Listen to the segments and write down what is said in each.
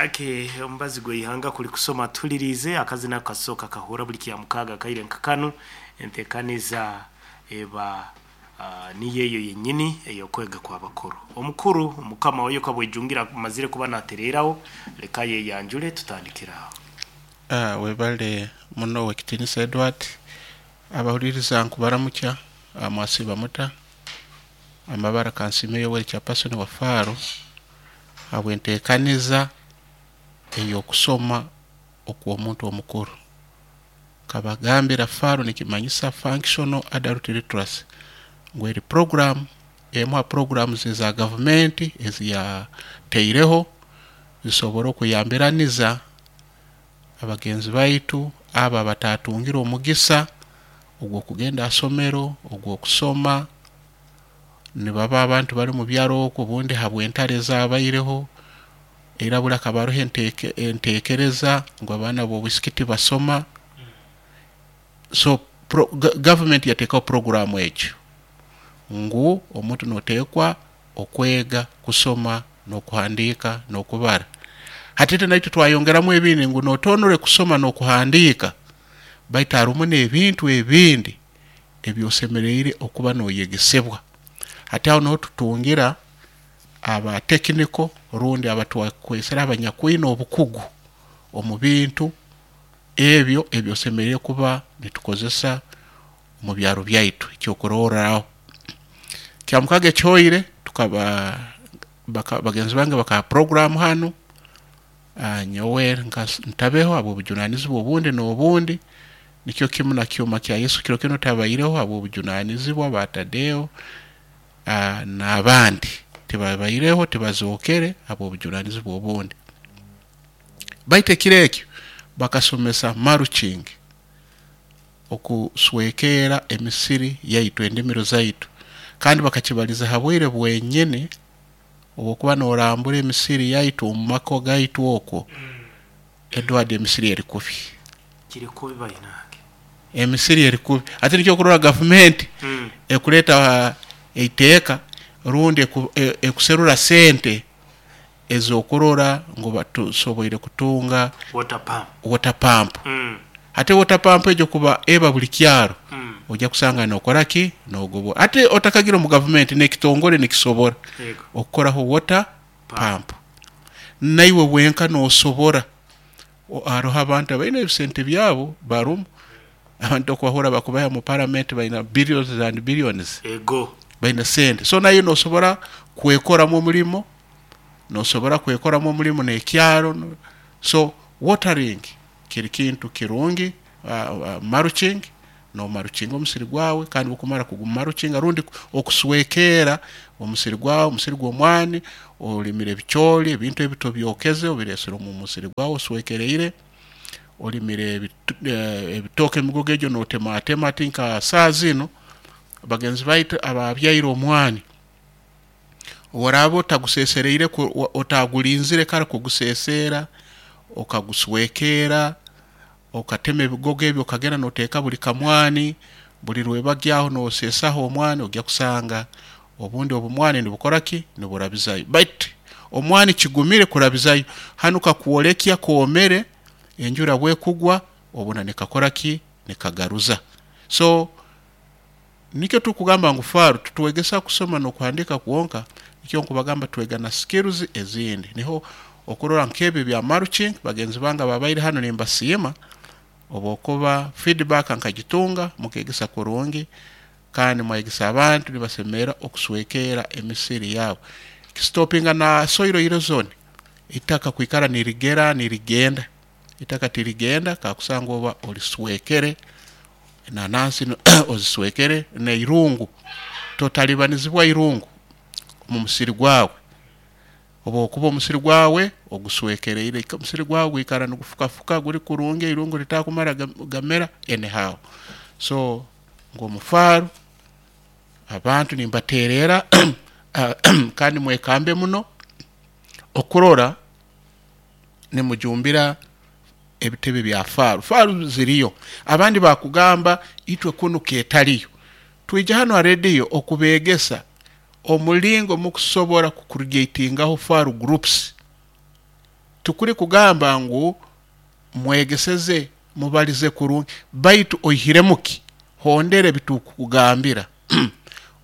Ake omubazi gw'eihanga kuli kusoma tulirize akazina kasooka kahura buli kya mukaaga kaire nka kanu entekaniza eba niyo eyo yennyini ey'okwega kw'abakuru. Omukuru mukama wayo kabwejungira amazire kuba natereeraho, leka yeyanjule tutandikire aho. Webale muno Owekitinisa Edward. Abahuliriza nkubaramukya, mwasiiba muta? Amabara Kansiime Yoweri Chairperson wa Faro habw'enteekaniza ey'okusoma okw'omuntu omukuru. Nkabagambira Faro nikimanyisa Functional Adult Literacy, ngu eri program emu ha programs eza gavumenti eziyataireho zisobole okuyambiraniza abagenzi baitu abo abatatungire omugisa ogw'okugenda ha somero, ogw'okusoma, nibaba abantu bali omu byaro okwo obundi habw'entaro ezabaireho, era buli hakaba haroho enteekereza ngu abaana b'obwisiki tibasoma. So gavumenti yateekaho puroguraamu egyo ngu omuntu nooteekwa okwega kusoma n'okuhandiika n'okubara. Hati itwe naitwe twayongeramu ebindi ngu nootoonore kusoma n'okuhandiika baitu harumu n'ebintu ebindi ebi osemeriire okuba nooyegesebwa. Hati aho nuho tutungira aba technical rundi abatwakwesere abanyakwine obukugu omu bintu ebyo ebi osemeriire kuba nitukozesa omu byaro byaitu. Ekyokurorraho, Kyamukaaga ekihoire tukaba bagenzi bange bakaha puroguraamu hanu, nyowe ntabeho habw'obujunaanizibwa obundi n'obundi, nikyo kimu na Kyoma kya Yesu kiro kinu tabaireho habw'obujunaanizibwa, ba Tadeo n'abandi tibabaireho, tibazookere habw'obujunaanizibwa obundi. Baitu ekiro ekyo bakasomesa mulching, okuswekeera emisiri yaitu, endimiro zaitu, kandi bakakibaliza ha bwire bwenyini obw'okuba noorambura emisiri yaitu omu maka gaitu okwo, Edward emisiri eri kubi. Kiri kubi bainange. Emisiri eri kubi. Hati nikyo okurora gavumenti ekuleeta eiteeka rundi ekuserura sente ez'okurora ngu tusoboire kutunga Water pump. water pump. Hati water pump egyo kuba eba buli kyaro, ojja kusanga nookora ki? Noogobora. Hati otakagira omu gavumenti n'ekitongore nikisobora okukoraho water pump. Naiwe wenka noosobora. Haroho abantu abaine ebisente byabo barumu, abantu okubahurra bakubaha omu paramenti baine billions and billions. Baine sente. So naiwe noosobora kwekoramu omulimo, noosobora kwekoramu omulimo n'ekyaro. So watering kiri kintu kirungi, mulching, noomaruchinga omusiri gwawe kandi obu okumara kugumaruchinga rundi okuswekeera omusiri gwawe, omusiri gw'omwani, olimire ebicooli, ebintu ebi tobyokeze obireesere omu musiri gwawe oswekereire, olimire ebitooke emigogo egyo nootematema hati nka saaha zinu bagenzi baitu ababyaire omwani, obu oraaba otaguseesereire otagulinzire kara kuguseeseera, okaguswekeera, okatema ebigogo ebi okagenda nooteeka buli kamwani, buli rwebagyo aho nooseesaho omwani, ojja kusanga obundi obumwani nibukora ki? Niburabizayo. Baitu omwani kigumire kurabizayo, hanu kakwolekya koomere, enjura obu ekugwa obona nikakora ki? Nikagaruza. So nikyo turukugamba ngu Faro titwegesa kusoma n'okuhandiika kwonka, nikyo nkubagamba twega na skills ezindi. Niho okurora nk'ebi ebya mulching, bagenzi bange ababaire hanu nimbasiima obwokuba feedback nkagitunga, mukeegesa kurungi kandi mwayegesa abantu nibasemerra okuswekeera emisiri yaabo. Kisitopinga na soil erosion, itaka kwikara nirigera nirigenda, itaka tirigenda kakusanga oba oliswekere, enanansi oziswekere n'eirungu, totalibanizibwa irungu omu musiri gwawe. Obu okuba omusiri gwawe oguswekereire, omusiri gwawe gwikara nigufukafuka guri kurungi, eirungu litakumara gamera anyhow. So nk'omufaaro abantu nimbateererra kandi mwekambe muno okurora nimujumbira ebitebe bya Faro. Faro ziriyo, abandi bakugamba itwe kunu ketaliyo. Twija hanu ha rediyo okubeegesa omulingo mukusobora kucreatingaho Faro groups. Tukuri kugamba ngu mwegeseze, mubalize kurungi, baitu oihiremu ki? Hondera ebitukugambira.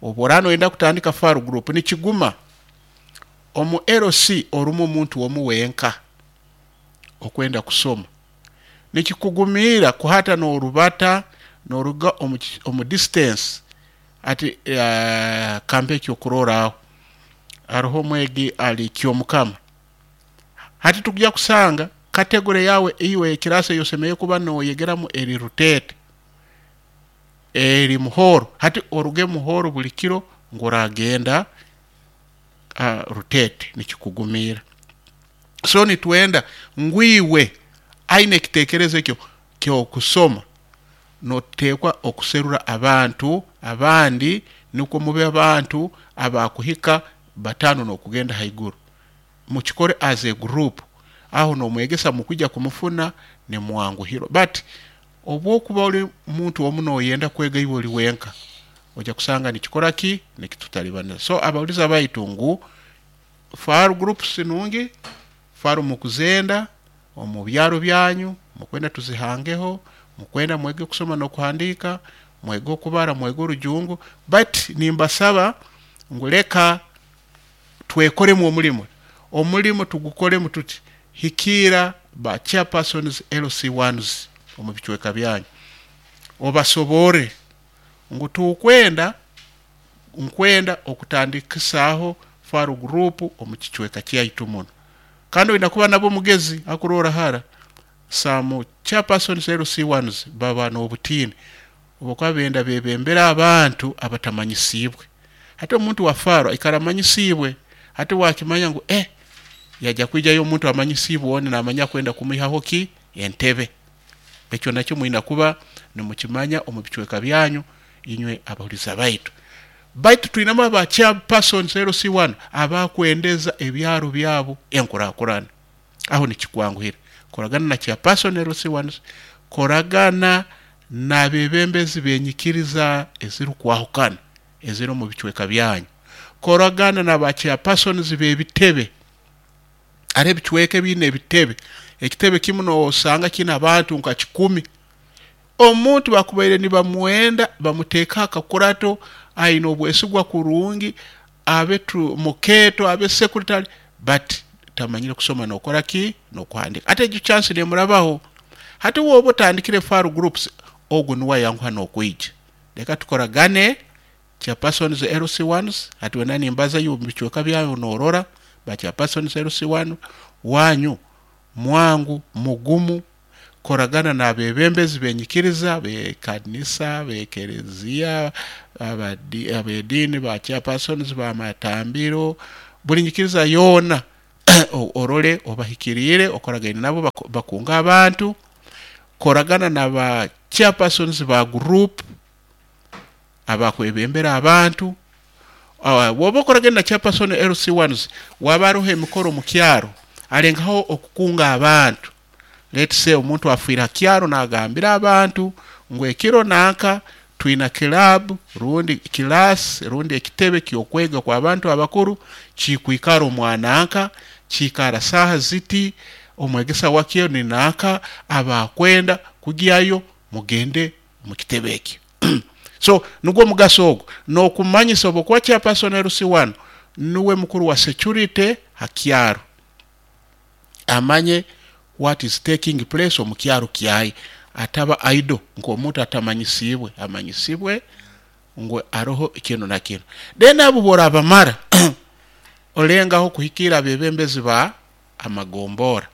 Obu oraaba noyenda kutandika faru group, nikiguma omu LC orumu omuntu omu wenka okwenda kusoma, nikikugumiira kuhata n'orubata n'oruga omu distance. Ati kampe ekyokurorraho, haroho omwegi ali Kyomukama, hati tukujya kusanga category yawe iwe ekirasi eyi osemeriire kuba noyegeramu eri Ruteete, eri Muhoro, hati oruge Muhoro buli kiro ngu oragenda Ruteete, nikikugumiira. So nitwenda ngu iwe aine ekiteekerezo ekyo ky'okusoma, noteekwa okuserura abantu abandi nukwo mube abantu abakuhika 5 n'okugenda haiguru. Mukikore as a group, aho n'omwegesa mukwija kumufuna nimwanguhirwa. But obu okuba ori muntu omu noyenda kwega iwe ori wenka, ojya kusanga nikikora ki? Nikitutalibaniza. So abawuliza baitu ngu faru groups nungi, faru mukuzenda omu byaro byanyu, mukwenda tuzihangeho, mukwenda mwege kusoma n'okuhandiika, mwege okubara, mwege orujungu, but nimbasaba ngu leka twekoremu omulimo. Omulimo tugukoremu tuti, hikiira ba chairpersons LC1s omu bicweka byanyu, obasoborre ngu tukwenda, nkwenda okutandikisaaho faru group omu kicweka kyaitu muno. Kandi oina kuba nabo mugezi akuroora hara, some chairpersons LC1s baba n'obutiini obu benda bebembere abantu abatamanyisiibwe. Hati omuntu wa faru aikara amanyisiibwe, hati wakimanya ngu yajya kwijayo omuntu amanyisiibwe oni namanya kwenda kumwihaho ki? Entebe. Ekyo nakyo mwina kuba nimukimanya omu bicweka byanyu inywe abahuliza baitu. Baitu twinamu aba chairpersons LC1 abakwendeza ebyaro byabo enkurakurana. Aho nikikwanguhira. Koragana na chairperson LC1, koragana n'abebembezi b'enyikiriza ezirukwahukana eziri omu bicweka byanyu. Koragana n'aba chairpersons b'ebitebe. Hariho ebicweka ebiine ebitebe. Ekitebe kimu nosanga kiine abantu nka 10. Omuntu bakubaire nibamwenda bamuteekaho akakurato, aine obwesigwa kurungi, abe mukeeto, abe secretary, but tamanyire kusoma n'okora ki? N'okuhandiika. Hati egyo chance nemurabaho. Hati woba otandikire faru groups, ogu nuwe ayanguha n'okwija. Leka tukoragane chairpersons LC1s, hati wena nimbaza iwe omu bicweka byawe norora ba chairpersons LC1 wanyu mwangu mugumu, koragana n'abebembezi b'enyikiriza b'ekanisa, b'ekereziya, ab'ediini, ba chairpersons b'amatambiro, buli nyikiriza yoona orole obahikiriire, okoragaine nabo bakunga abantu, koragana n'aba chairpersons ba group abakwebembera abantu. Bw'oba okoragaine na chairperson LC1s, waba haroho emikoro mu kyaro, alengaho okukunga abantu. Let's say omuntu afiire ha kyaro nagambira abantu ngu ekiro nanka twina club rundi class rundi ekitebe ky'okwega kw'abantu abakuru kikwikara omwananka, kiikara saaha ziti, omwegesa wakyo ni nanka, abakwenda kugyayo mugende mu kitebe ekyo. So nugwo omugaso ogwo n'okumanyisa obu okuba chairperson LC1 nuwe mukuru wa security ha kyaro, amanye what is taking place omu kyaro kyaye, ataba idle nk'omuntu atamanyisiibwe, amanyisibwe ngu haroho kinu na kinu. Then abo bw'orabamara olengaho kuhikiira abebembezi ba amagombora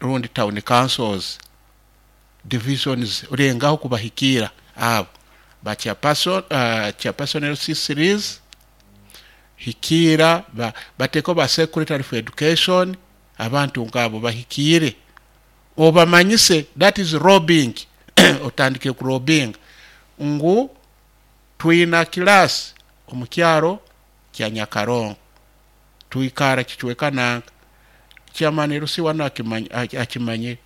rundi town councils, divisions, olengaho kubahikiira abo ba chairperson, chairperson LC3s, hikiira bateeko ba secretary for education, abantu nk'abo bahikiire obamanyise, that is lobbying. Otandike kulobbying ngu twina class omu kyaro kya Nyakarongo, twikara kicweka nanka, chairman LC1 akimanyire,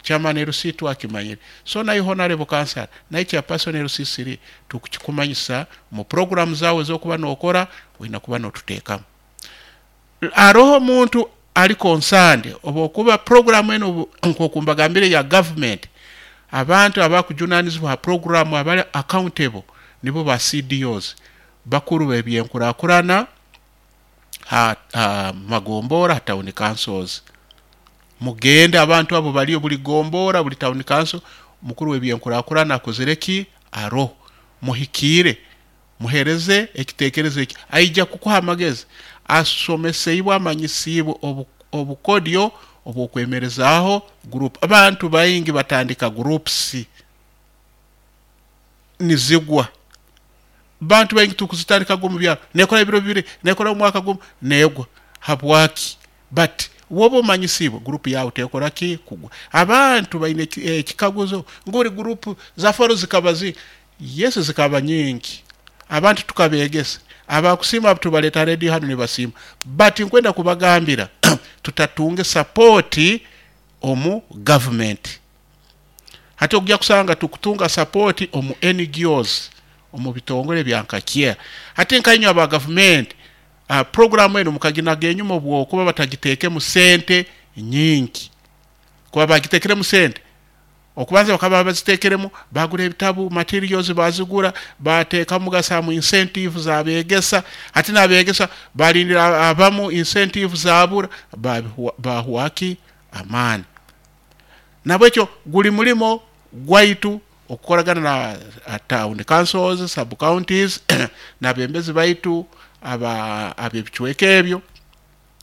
chairman LC2 akimanyire, so naye honorable councillor naye chairperson LC3 tukukikumanyisa mu program zawe ez'okuba nokora, oina kuba notuteekamu. Haroho omuntu Ali concerned oba okuba programu eno nk'oku mbagambire ya government, abantu abakujunanizibwa ha programu abali accountable nibo ba CDOs, bakuru b'ebyenkurakurana ha magombora, ha town councils. Mugende, abantu abo baliyo buli gombora, buli town council, mukuru w'ebyenkurakurana akozere ki, aroho. Muhikiire, muhereze ekitekerezo eki, aija kukuha amagezi, asomeseibwe, amanyisiibwe obukodyo obw'okwemerezaaho group. Abantu baingi batandika groups nizigwa. Bantu baingi tukuzitandika omu byaro, nekora ebiro 2, nekora omwaka gumu, negwa. Habwaki? But woba omanyisiibwe, group yawe tekora ki, kugwa. Abantu baine ekikaguzo nguri group za faro zikaba zi yesu zikaba nyingi, abantu tukabegesa, abakusiima tubaleta radio hano nibasiima, but nkwenda kubagambira tutatunge support omu government. Hati okujja kusanga tukutunga support omu NGOs, omu bitongole bya nkakia. Hati nkainywe aba government, programu eno mukaginaga enyuma obwokuba batagitekemu sente nyingi, kuba bagitekерemu sente okubanza bakaba bazitekeremu, bagura ebitabu, materials bazigura, batekamu gasamu incentive zabegesa. Hati nabegesa balindira abamu incentive zabura, bahuwaki amaani. Nabwekyo guli mulimo gwaitu okukoragana na town councils, sub counties n'abembezi baitu ab'ebicweka ebyo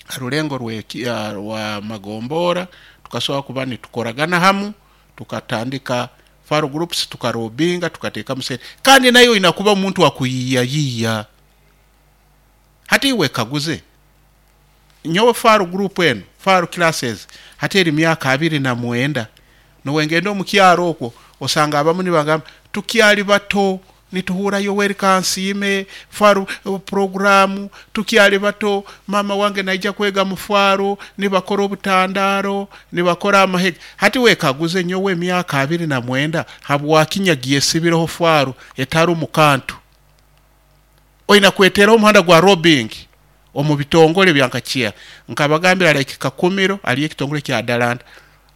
harulengo rwa magombora, tukasobola kuba nitukoragana hamu, tukatandika faro groups, tukarobinga, tukateekamu sente. Kandi nayo oyina kuba omuntu akuyiiyayiiya. Hati iwe kaguze nyowe faro group eno, faro classes, hati eri myaka 29. Nowengenda omu kyaro okwo osanga abamu nibagamba tukyali bato nituhura Yoweri Kansiime faro programu, tukyali bato, mama wange naija kwega mu faro, nibakora obutandaro, nibakora amahega. Hati wekaguze nyowe emyaka 29 habwaki nyagyesibireho faro etari mu kantu? Oyina kweteraho omuhanda gwa robbing omu bitongole bya nkakia. Nkabagambira like Kakumiro ali ekitongole kya Atalanta.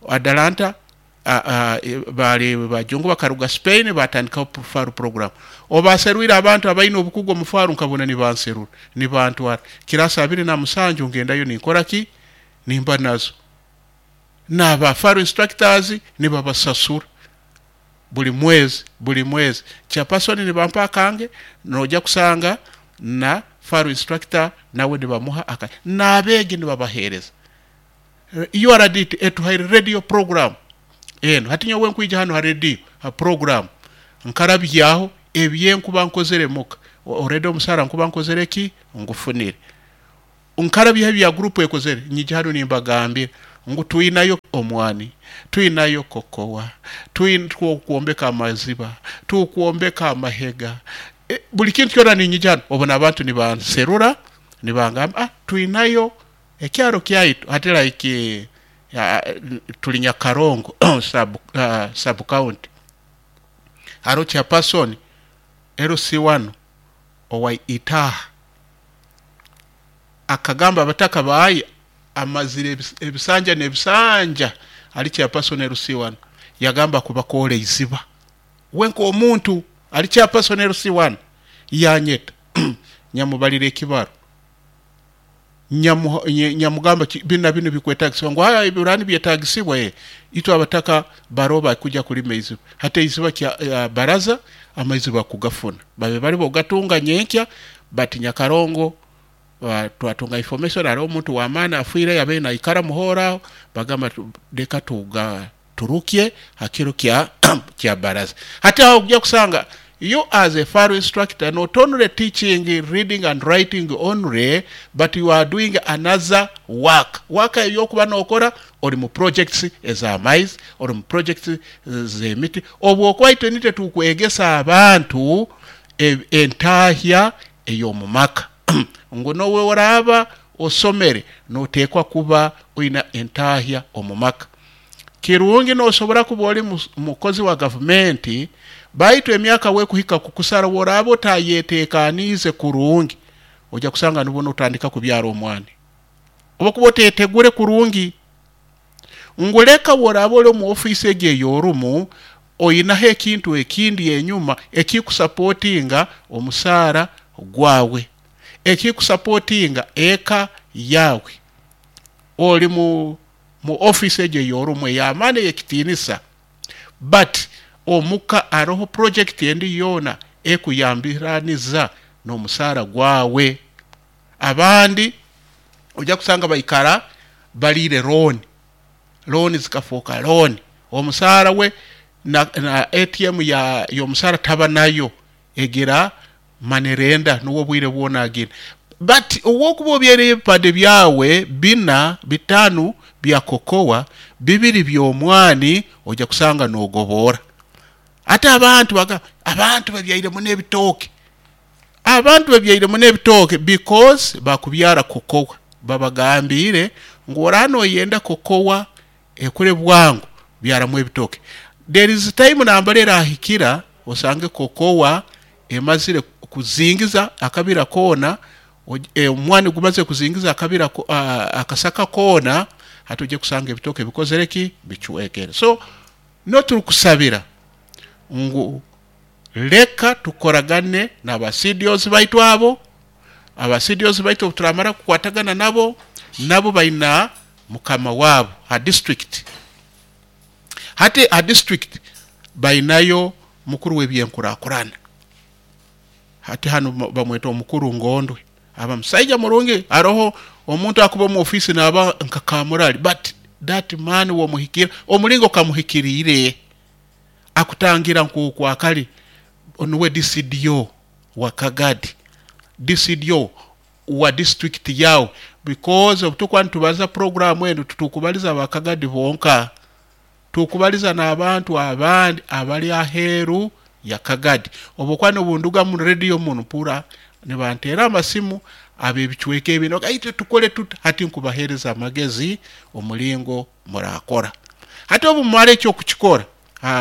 Atalanta bali bajungu bakaruga Spain batandikaho faro program. Obaserwire abantu abaine obukugu omu faro, nkabona nibanserura nibantwara kirasa 27, ngendayo ninkora ki, nimba nazo naba faro instructors, nibabasasura buli mwezi, buli mwezi chairperson nibampa akange. Noja kusanga na faro instructor nawe nibamuha aka, n'abeegi nibabaheereza. URD etuhaire radio program eno. Hati nyowe nkwija hano ha radio ha program nkarabyaho ebyenkuba nkozere muka, already omusara nkuba nkozere ki, ngufunire, nkarabyaho ebya group ekozere. Nyija hano nimbagambira ngu twinayo omwani, twinayo kokowa, tukwombeka amaziba, tukwombeka amahega, buli kintu kyona. Ninyija hano obona abantu nibanserura nibangamba, twinayo ekyaro kyaitu. Hati like tuli Nyakarongo sub county, hariho chairperson LC1 owa Itaha, akagamba abataka bayi amazire ebisanja n'ebisanja ali chairperson LC1, yagamba kubakora iziba. We nk'omuntu ali chairperson LC1 yanyeta, nyamubalira ekibaro, nyamugamba binu na binu bikwetagisibwa, ngu haya ebirani byetagisibwa, itwe abataka baroba kuja kulima iziba. Hati iziba kya baraza amaizi bakugafuna babe bali bogatunga nyenkya. But Nyakarongo twatunga information hariho omuntu w'amaani afiire yabaire naikara muhooraho, bagamba leka tuga turukye hakiro kya baraza. Hati aho ojja kusanga you as a faro instructor not only teaching reading and writing only, but you are doing another work, work eyokuba nokora ori mu projects ez'amaizi, ori mu projects z'emiti. Obwokuba itwe nitwe tukwegesa abantu entahya ey'omu maka, ngu nowe oraaba osomere noteekwa kuba oina entahya omu maka. Kirungi nosobora kuba ori mukozi wa gavumenti, baitu emyaka wekuhika kukusara woraaba otayetekaniize kurungi, ojja kusanga nibwo notandika kubyara omwana. Oba kuba otetegure kurungi nguleka woraba ori omu ofiisi egi ey'orumu, oyinaho ekintu ekindi enyuma ekikusapotinga omusaara gwawe, ekikusapotinga eka yawe. Ori mu ofiisi egi ey'orumu ey'amaani ey'ekitiinisa, but omuka haroho project endi yoona ekuyambiraniza n'omusaara gwawe. Abandi ojja kusanga baikara baliire looni, looni zikafooka looni, omusaara we na ATM y'omusaara taba nayo, egira money lender nuwe obwire bwona agina. But obwokuba obyaireyo ebipande byawe 4, 5 bya kokowa, 2 by'omwani, ojja kusanga nogoboora. Ate abantu bagamba abantu babyaire muno ebitooke, abantu babyaire muno ebitooke because bakubyara kokowa. Babagambiire ngu oraba noyenda kokowa ekure bwangu, byaramu ebitooke. There is time nambere erahikira osange kokowa emazire kuzingiza akabira koona, omwani gumaze kuzingiza akabira akasaka koona, hati ojja kusanga ebitooke bikozere ki? Bicwekere. So no turukusabira ngu leka tukoragane n'aba CDOs baitu abo, aba CDOs baitu obu turamara kukwatagana nabo, nabo baina mukama waabo ha district. Hati ha district bainayo mukuru w'ebyenkurakurana, hati hanu bamweta omukuru Ngondwe, aba musaija murungi. Haroho omuntu akuba omu ofiisi naaba nka kamurali, but that man womuhikira omulingo kamuhikiriire akutangira nk'oku akali nuwe DCDO wa Kagadi, DCDO wa district yawe, because obu tukuba nitubaza programu enu tutukubaliza aba Kagadi bonka, tukubaliza n'abantu abandi abali aheeru ya Kagadi. Obu okuba nobunduga mu radio munu mpura nibanteera amasimu ab'ebicweka ebi, itwe tukole tuta? Hati nkubaheereza amagezi omulingo murakora. Hati obu mumara ekyo kukikora,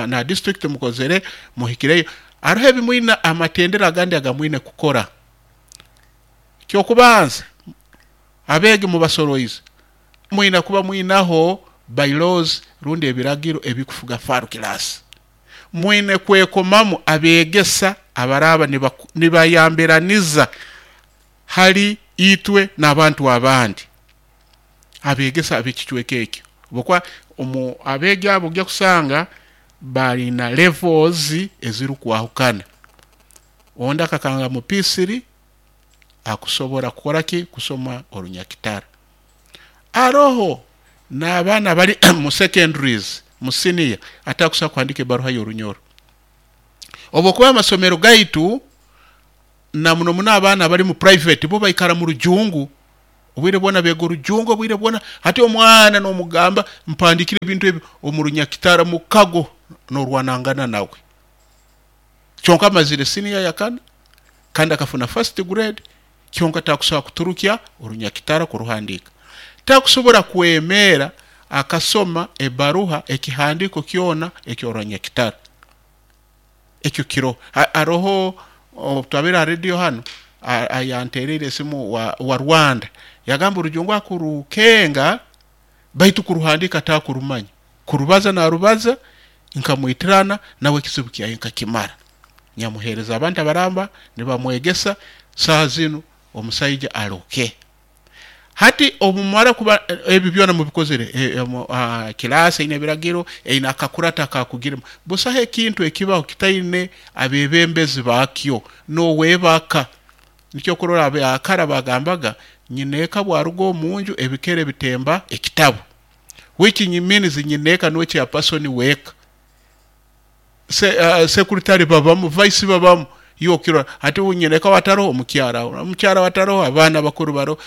na district mukozere muhikireyo, haroho ebimwina amatendera agandi agamwine kukora. Kyokubanza, abeegi mubasoroize, mwina kuba mwinaho bylaws rundi ebiragiro ebikufuga faru class. Mwine kwekomamu abeegesa abaraba nibayambiraniza hali itwe n'abantu abandi, abeegesa ab'ekicweka ekyo. Habwokuba omu abeegi abo ojja kusanga balina levels ezirukwahukana. Ondi akakanga mu P3 akusobora kukora ki? Kusoma orunyakitara. Haroho n'abaana abali mu secondaries, mu senior, atakusobora kuhandika ebaruha y'orunyoro. Obwokuba amasomero gaitu na muno muno abaana abali mu private bo baikara mu rujungu, obwire bwona beega orujungu obwire bwona. Hati omwana n'omugamba mpandikire ebintu ebi omu runyakitara mukago n'orwanangana nawe. Kyonka amazire senior ya kana kandi akafuna first grade, kyonka takusobora kuturukya orunyakitara kuruhandika. Takusobora kwemeera akasoma ebaruha ekihandiko kyona eky'orunyakitara. Ekyo kiroho. Haroho twabire ha radio hanu ayantereire esimu wa Rwanda, yagamba orujungu akurukenga baitu kuruhandika takurumanya, kurubaza narubaza nkamwitirana nawe ekizibu kyaye nkakimara. Nyamuheereza abantu abaramba nibamwegesa, saaha zinu omusaija aroke. Hati obumara kuba ebi byona mubikozere, kilaasi eine ebiragiro, eine akakurata akakugiremu, busaho ekintu ekibaho kitaine abebembezi bakyo n'owebaka. Nikyo okurora abakara bagambaga nyineeka bwaruga omunju ebikere bitemba ekitabu, which means nyineeka nuwe chairperson w'eka. Secretary babamu, vice babamu, iwe okirora hati nyineeka wataroho omukyara, omukyara wataroho abaana bakuru baroho,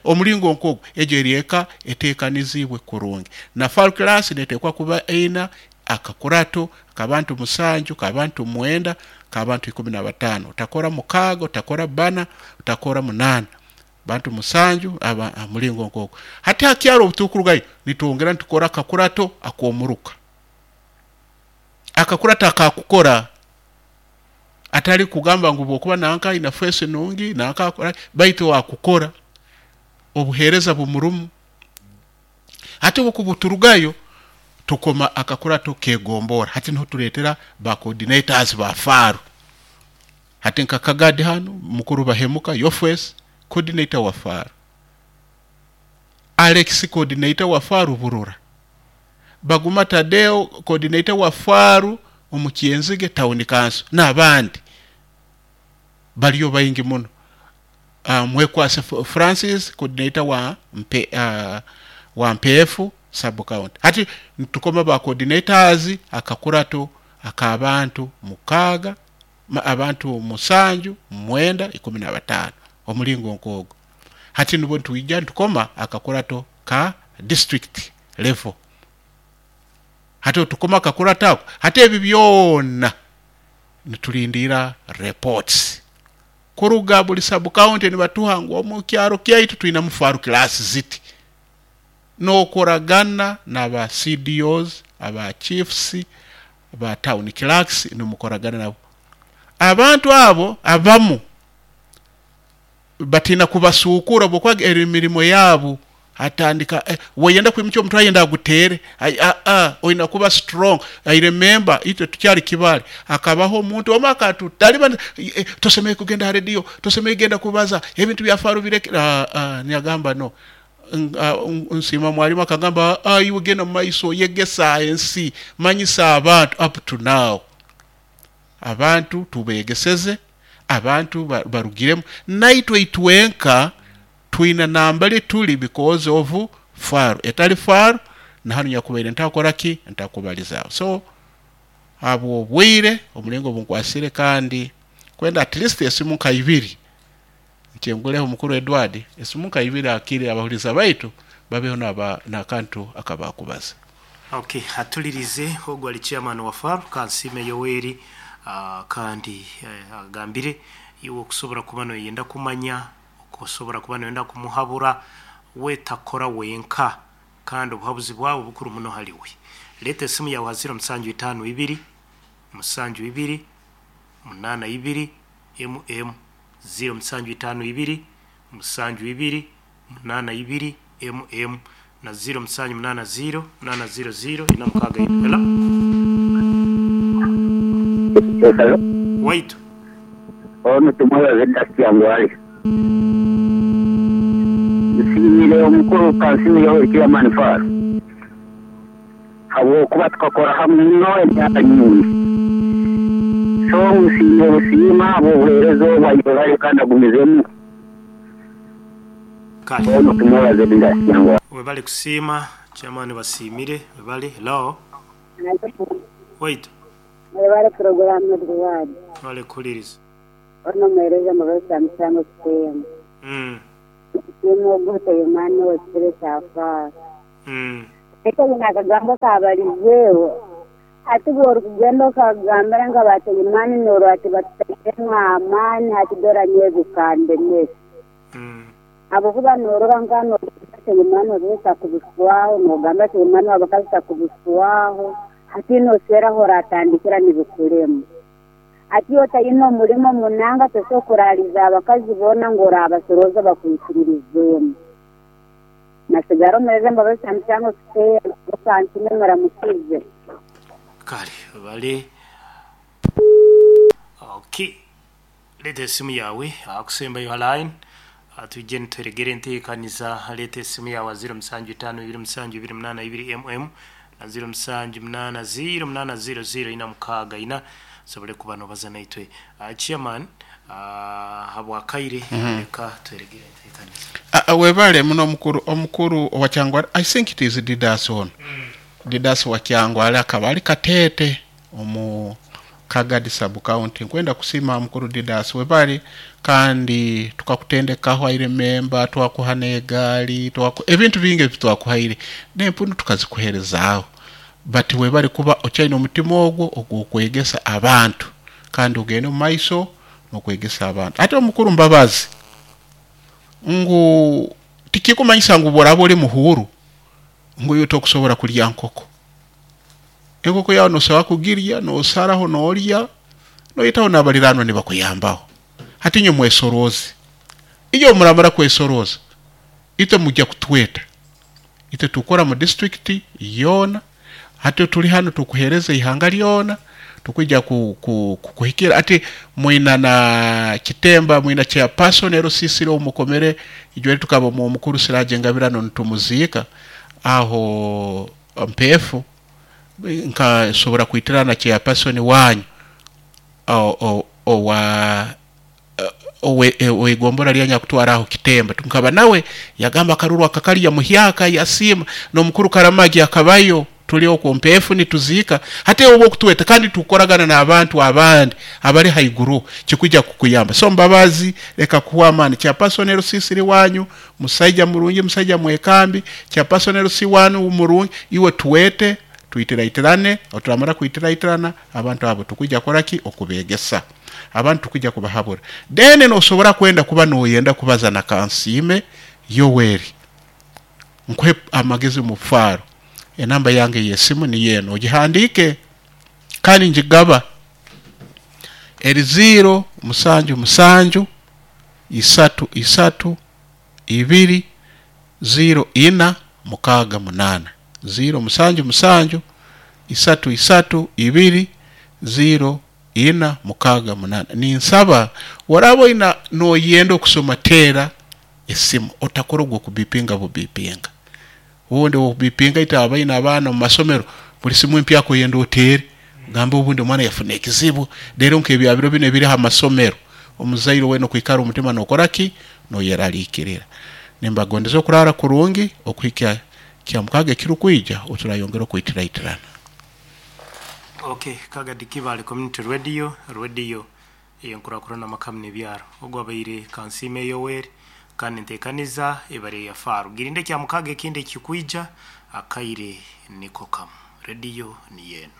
omulingo nk'ogwo egyo eri eka eteekaniziibwe kurungi. Na far class netekwa kuba eina akakurato k'abantu 7, k'abantu 9, k'abantu 15. Otakora 6, otakora 4, otakora 8. Bantu 7 aba mulingo nk'ogwo. Hati ha kyaro obu tukurugayo nitwongera nitukora akakurato ak'omuruka. Akakurato akakukora atali kugamba ngu bwokuba nanka aina face nungi nanka akora, baitu akukora. Obuheereza bumurumu. Hati obukubuturugayo tukoma akakurato kegombora. Hati niho tuleetera ba coordinators ba faaru. Hati nka Kagadi hanu mukuru Bahemuka Yofes coordinator wa faaru, Alex coordinator wa faaru Burura, Baguma Tadeo coordinator wa faaru omu Kyenzige town council, n'abandi bariyo baingi muno. Mwekwase Francis coordinator wa wa Mpeefu sub county. Hati nitukoma ba coordinators akakurato ak'abantu 6, abantu 7, 9, 15 omulingo nk'ogwo. Hati nibwo nitwija nitukoma akakurato ka district level. Hati otukoma akakurato ako, hati ebi byona nitulindira reports kuruga buli sub county, nibatuha ngu omu kyaro kyaitu twinamu faru class ziti, n'okoragana n'aba CDOs, aba chiefs, ba town clerks, nimukoragana nabo. Abantu abo abamu batina kubasukura bwokwaga emirimo yabo atandika weyenda kwimukya omuntu ayenda agutere, oyina kuba strong. I remember itwe tukyali Kibale, akabaho omuntu omwe akatutaliba, tosemeye kugenda ha radio, tosemeye kugenda kubaza ebintu bya faru bireke. Nyagamba no. Nsima mwalimu akagamba, iwe genda mu maiso yegesa ensi, manyisa abantu. Up to now abantu tubegeseze, abantu barugiremu, naitwe itwenka twina nambali tuli because of faru. Etali faru nahanu nyakubaire ntakora ki, ntakubalizaaho. So abo obwire omulingo bunkwasire, kandi kwenda at least esimu nka ibiri nkyenguleho mukuru Edward, esimu nka ibiri akiri abahuliza baitu babeho n'akantu akabakubaza. Okay, atulirize ogwo ali chairman wa FARU Kansime Yoweri, kandi agambire iwe okusobora kuba noyenda kumanya, okusobora kuba noyenda kumuhabura, wetakora wenka, kandi obuhabuzi bwawe bukuru muno haliwe. Leeta esimu yawe ha 0752 72 82 mm 0752 72 82 mm na 0780 800 46. Hello? Hello? Wait. Ono tumwebaze Kyangwali. Nsiimire omukuru Kansime Yoweri chairman FARU habwokuba tukakora hamwe muno emyaka nyingi. So nsiimire busiima habw'obuheereza obu ayebare kandi agumizemu. Kale. Ono tumwebaze Kyangwali. Webale kusiima chairman, basiimire, webale. Hello? Wait. Mwebale programu Edward. Wale kuliriza. Ono mwereza mubesa musango kitemu. Kitemu ogute yumani wekitebe kya FARU. Eko bino akagambo kabalizeewo. Ati bw'orikugenda okagambira nga bateyimani noro ati batutairemu amaani hati dora nyebikandemesi. Ahabwokuba norora nka teyimani obesa kubiswaho, nogamba teyimani wabakazisa kubiswaho, hati noseraho oratandikira nibikulema. Ati otayina omulimo munanga tosobola kuraliza abakazi boona ngu orabasoroza bakwikiririzemu. Nasigara omureze mbabesa musango kiteera, Kansime muramukize. Kale, bale. Okay. Leeta esimu yawe, akusembayo line. Tujje nituregere enteekaniza. Leeta esimu yawe 0752 27 mm na 0780 800 464 sobole kuba nobaza naitwe. Chairman, habwakaire leka tweregere enteekaniza. Webale muno omukuru wa Kyangwali. I think it is Didas ono. Didas wa Kyangwali akaba ali Katete omu Kagadi sub county. Nkwenda kusima mukuru Didas, webale, kandi tukakutendekaho. I remember twakuha n'egaali, ebintu bingi ebi twakuhaire n'empunu tukazikuherezaaho, but webale kuba okyaine omutima ogwo ogw'okwegesa abantu, kandi ogende omu maiso n'okwegesa abantu. Ate omukuru Mbabazi, ngu tikikumanyisa ngu bworaba oli muhuru ngu iwe tokusobora kulya nkoko. Enkoko yawe nosobola kugirya, nosaraho norya, noyitaho n'abaliranwa nibakuyambaho. Hati inywe mwesoroze, iyo muramara kwesoroza Itwe mujja kutweta, itwe tukora mu district yoona. Hati tuli hano tukuhereza ihanga lyona, tukwija kuhikira ati mwina na kitemba, mwina chairperson erosisire omukomere ijweri tukaba mu mukuru Siraje Ngabirano nitumuziika aho mpefu, nkasobora kwitirana chairperson wanyu owa owegombora lyanya kutwara aho kitemba. Tunkaba nawe yagamba akaruru akakali ya muhyaka yasima n'omukuru Karamagi akabayo, tuli okwo mpefu nituziika. Hati obwo okutweta kandi tukoragana n'abantu abandi abali haiguru, kikwijja kukuyamba. So Mbabazi, leka kuwa amaani. Chairperson erusisiri wanyu musaija murungi, musaija mwekambi. Chairperson erusi wanyu murungi, iwe tuwete tuitiraitirane. Oturamara kuitiraitirana abantu abo tukwijja koraki okubegesa abantu, tukwijja kubahabura. Then nosobora kwenda kuba noyenda kubaza na Kansiime Yoweri, nkuhe amagezi mu faro. Enamba yange yesimu ni yeno, ogihandike kandi njigaba eri 0 7 7 3 3 2 0 4 6 8. 0 7 7 3 3 2 0 4 6 8. Ninsaba waraba ina noyenda okusoma, tera esimu, otakora ogwo kubipinga bubipinga ubundi obipinga ita abaina abaana mu masomero, buli simu empya koyenda otere gamba obundi omwana yafuna ekizibu. Rero nk'ebyabiro bino ebiri ha masomero, omuzaire wena okwikara omutima nokoraki noyeraliikirira. Nimbagondeza okurara kurungi okuhikya kya mukaga ekirukwija oturayongera okwitiraitirana. Okay, Kagadi Kibale Community Radio, radio eyenkurakurana amakamu n'ebyaro. Ogwo abaire Kansiime Yoweri, kandi ntekaniza ebare ya faru girinde kya mukaga ekindi ekikwija akaire niko kamu. Radio ni yenu.